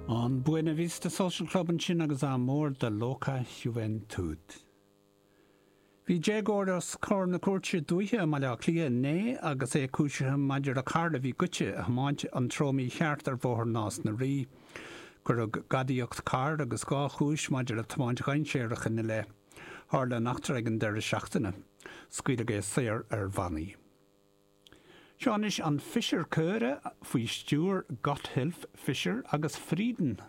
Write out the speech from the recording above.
An Buena Vista Social Club ansin agus Amor de Loca Juventud. Bhí déagóir os comhair na cúirte dúiche i mBaile Átha Cliath inné agus é cúisithe maidir le carr a bhí goidte a thiomáint an treo mícheart ar Bhóthar Nás na Rí. Cuireadh gadaíocht cairr agus 2 chúis maidir le tiomáint dhainséarach ina leith. Tharla an eachtra ag an deireadh seachtaine. Scaoileadh é saor ar bhannaí. Seo anois an Fischer Chöre faoi stiúir Gotthilf Fischer agus Frieden.